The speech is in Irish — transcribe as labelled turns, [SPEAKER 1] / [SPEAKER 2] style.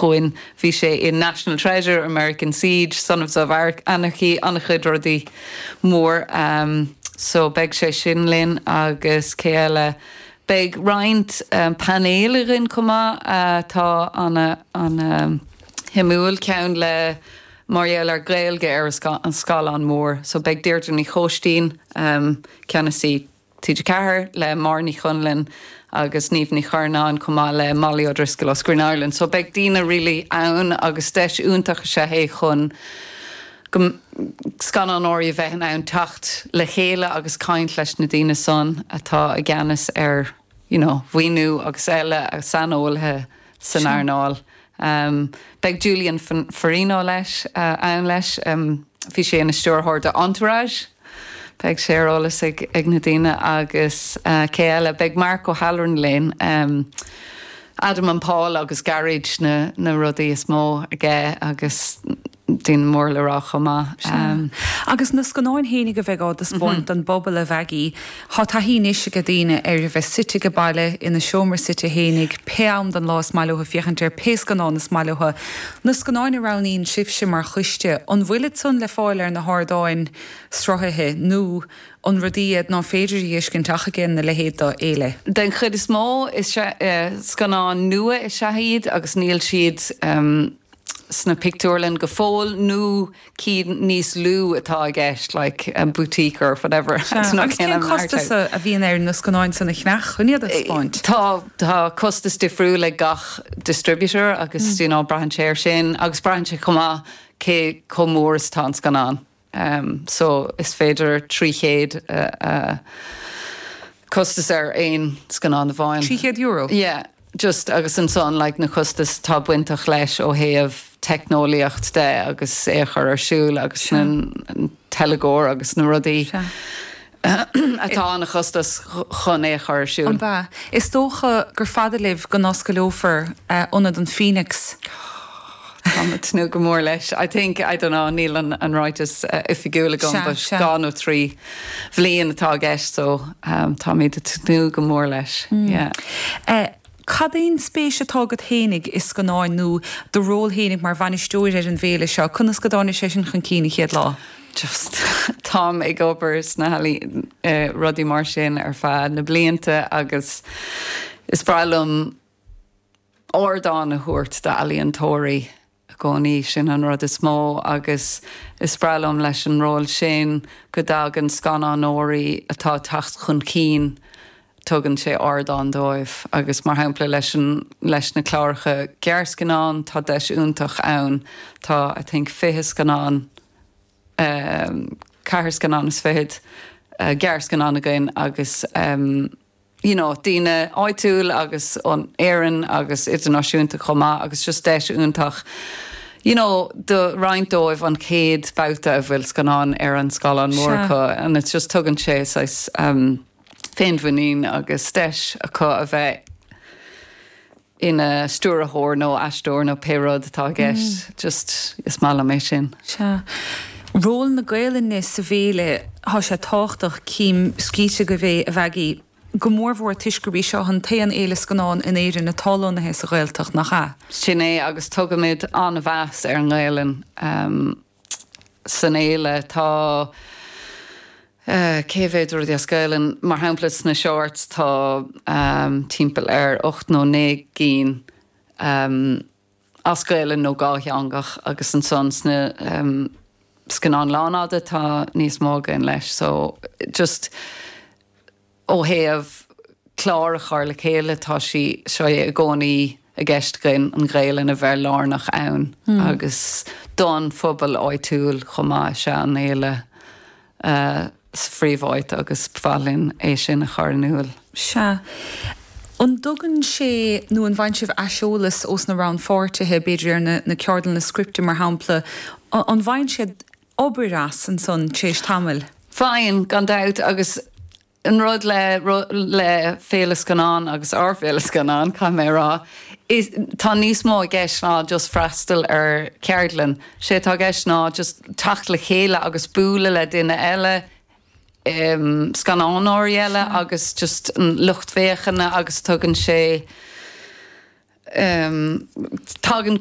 [SPEAKER 1] chugainn. Bhí sé in National Treasure, American Siege, Sons of Anarchy, an-chuid rudaí mór. So beidh sé sin linn agus cé eile? Beidh roinnt painéil againn chomh maith atá ana-shuimiúil, ceann le mar gheall ar Gaeilge ar an scáileán mór. So beidh Deirdre Ní Chóistín, ceannasaí TG4, le Máire Ní Chonluain agus Niamh Ní Churnáin chomh maith le Molly O'Driscoll ó Screen Ireland. So beidh daoine really ann agus deis iontach is ea é chun go scannánóirí a bheith in ann teacht le chéile agus caint leis na daoine san atá i gceannas ar you know mhaoiniú agus eile, saineolaithe san earnáil. Beidh Julian Farino leis ann leis. Bhí sé ina stiúrthóir do Entourage. Beidh sé ar eolas ag na daoine agus cé eile? Beidh Mark O'Halloran linn. Adam and Paul agus Garage na rudaí is mó aige agus daoine mór le rá chomh maith.
[SPEAKER 2] Sea. Agus na scannáin fhéinig a bheidh á dtaispeáint don bpobal, a Mhaggie, thá taithí anois age daoine ar a bheith suite age baile, ina seomra suite fhéinig, pé am den lá is maith leo féachaint ar pé scannán is maith leo. Na scannáin a roghnaíonn sibhse mar choiste, an bhfuilid san le fáil ar na hardáin sruthaithe nó an rudaí iad ná féidir a dh'fheiscint ach age a leithéid d'fhéile?
[SPEAKER 1] Den chuid is mó, is scannáin nua is ea iad agus níl siad sna pictiúrlann go fóill nó cinn níos lú atá i gceist, like boutique or whatever.
[SPEAKER 2] Sea, agus cén costas a bhíonn ar na scannáin san a cheannach chun iad a thaispeáint?
[SPEAKER 1] Tá, tá costas difriúil ag gach distributor agus you know braitheann sé ar sin agus braitheann sé chomh maith cé chomh mór is atá an scannán. So is féidir 300 costas ar aon scannán amháin.
[SPEAKER 2] €300?
[SPEAKER 1] Yeah, just agus ansan like na costais atá bainteach leis ó thaobh teicneolaíocht de agus é a chur ar siúl agus na teilgeoir agus na rudaí atá an-chostas chun é a chur ar siúl.
[SPEAKER 2] An ea? Is dócha gur fada libh go n-oscaileofar Ionad an Phoenix.
[SPEAKER 1] Táim ag tnúth go mór leis. I think, I don't know, níl an ráiteas oifigiúil agam but 2 nó 3 bhliain atá i gceist so táimid ag tnúth go mór leis, yeah.
[SPEAKER 2] Cad é an spéis atá agat fhéinig i scannáin nó do ról fhéinig mar bhainisteoir ar an bhféile seo? Conas go dtáinig sé sin chun cinn an chéad lá?
[SPEAKER 1] Just, táim ag obair sna healaíona, rudaí mar sin ar feadh na blianta agus is breá liom ardán a thabhairt d'ealaíontóirí i gcónaí, sin an rud is mó agus is breá liom leis an ról sin go dtagann scannánóirí atá ag teacht chun cinn, tugann sé ardán dóibh agus mar shampla leis an, leis na cláracha gearrscannán tá deis iontach ann, tá I think 20 scannán, ceathair scannán is fichead gearrscannán againn agus. you know daoine áitiúil agus ó Éirinn agus idirnáisiúnta chomh maith agus just deis iontach you know do roinnt dóibh an chéad babhta a bhfuil scannán ar an scáileán mór acu and it's just tugann sé saghas um féinmhuinín agus deis acu a bheith ina stiúrthóir nó aisteoir nó pé rud atá i gceist. Just, is maith liom é sin.
[SPEAKER 2] Sea. Ról na Gaelainne sa bhféile, thá sé tábhachtach, cím scríte agaibh é, a Mhaggie, go mórmhór toisc gurb í seo an t-aon fhéile scannán in Éirinn atá lonnaithe sa Ghaeltacht, nach ea?
[SPEAKER 1] Sin é, agus tugaimid an-mheas ar an nGaelainn. San fhéile tá cé mhéad rudaí as Gaelainn? Mar shampla sna shorts tá timpeall ar 8 nó 9 gcinn as Gaelainn nó dhátheangach agus ansan sna scannáin lánfhada tá níos mó againn leis so just Ó thaobh clár a chur le chéile, tá sí seo i gcónaí i gceist againn, an Ghaelainn a bheith lárnach ann agus don phobal áitiúil chomh maith is ea an fhéile sa phríomháit agus ba mhaith linn é sin a chur in iúl.
[SPEAKER 2] Sea. An dtugann sé, nó an bhfaigheann sibh aiseolas ós na rannpháirtithe, b'fhéidir ar na ceardlanna scripte mar shampla, an bhfaigheann siad obair as ansan tar éis tamaill.
[SPEAKER 1] Faigheann, gan dabht, agus an rud le le Féile Scannán agus ár bhFéile Scannán, caithfidh mé a rá, is tá níos mó i gceist ná just freastal ar cheardlann. Sé atá i gceist ná just teacht le chéile agus bualadh le duine eile, scannánóirí eile agus just an lucht féachana agus tugann sé, tagann.